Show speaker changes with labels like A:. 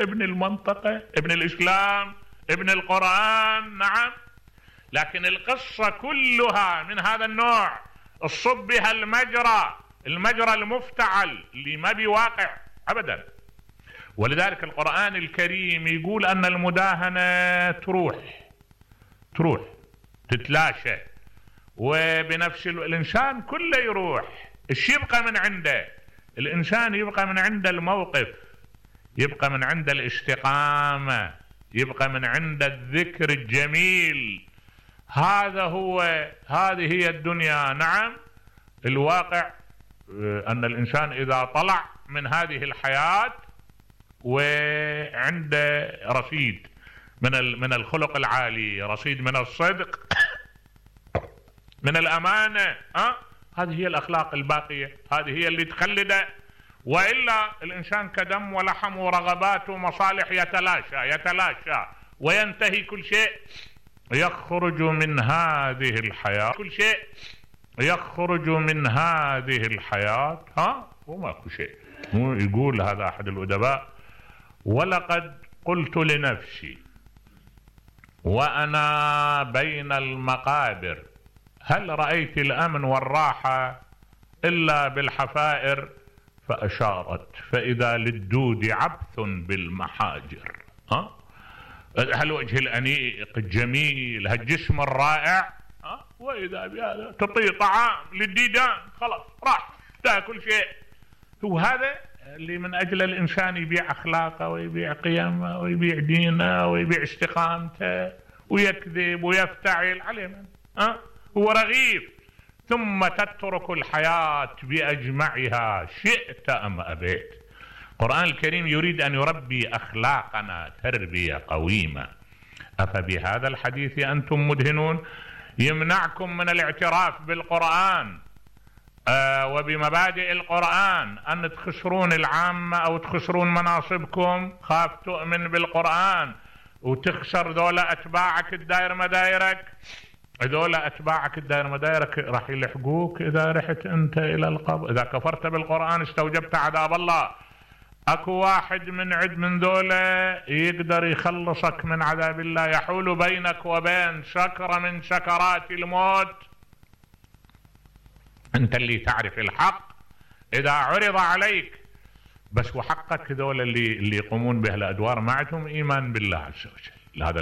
A: ابن المنطقة، ابن الإسلام، ابن القرآن. نعم، لكن القصة كلها من هذا النوع، الصب بها المجرى المفتعل اللي ما بواقع أبدا. ولذلك القرآن الكريم يقول أن المداهنة تروح تتلاشى، وبنفس الإنسان كله يروح. الشي يبقى من عنده، الإنسان يبقى من عنده الموقف، يبقى من عنده الاستقامة، يبقى من عنده الذكر الجميل. هذه هي الدنيا. نعم، الواقع أن الإنسان إذا طلع من هذه الحياة وعنده رصيد من الخلق العالي، رصيد من الصدق، من الأمانة، هذه هي الأخلاق الباقية، هذه هي اللي تخلده. وإلا الإنسان كدم ولحم ورغبات ومصالح يتلاشى وينتهي كل شيء، يخرج من هذه الحياة، كل شيء يخرج من هذه الحياة وماكو شيء. يقول هذا أحد الأدباء: ولقد قلت لنفسي وأنا بين المقابر هل رأيت الأمن والراحة إلا بالحفائر؟ فأشارت فإذا للدود عبث بالمحاجر. هالوجه الأنيق الجميل، هالجسم الرائع، وإذا بهذا تطيع طعام للديدان، خلاص راح تاكل شيء. هو هذا اللي من أجل الإنسان يبيع أخلاقه ويبيع قيمه ويبيع دينه ويبيع استقامته ويكذب ويفتعل عليه من هو رغيف، ثم تترك الحياة بأجمعها شئت أم أبيت. القرآن الكريم يريد أن يربي أخلاقنا تربية قويمة. أفبهذا الحديث أنتم مدهنون؟ يمنعكم من الاعتراف بالقرآن وبمبادئ القرآن أن تخسرون العامة أو تخسرون مناصبكم. خاف تؤمن بالقرآن وتخسر ذولا أتباعك الدائر مدايرك. ذولا أتباعك الدائر مدايرك راح يلحقوك إذا رحت أنت إلى القبر. إذا كفرت بالقرآن استوجبت عذاب الله. أكو واحد من ذولا يقدر يخلصك من عذاب الله، يحول بينك وبين سكرة من سكرات الموت. أنت اللي تعرف الحق إذا عرض عليك بس، وحقك ذولا اللي يقومون بهالأدوار ما عندهم إيمان بالله عز وجل. هذا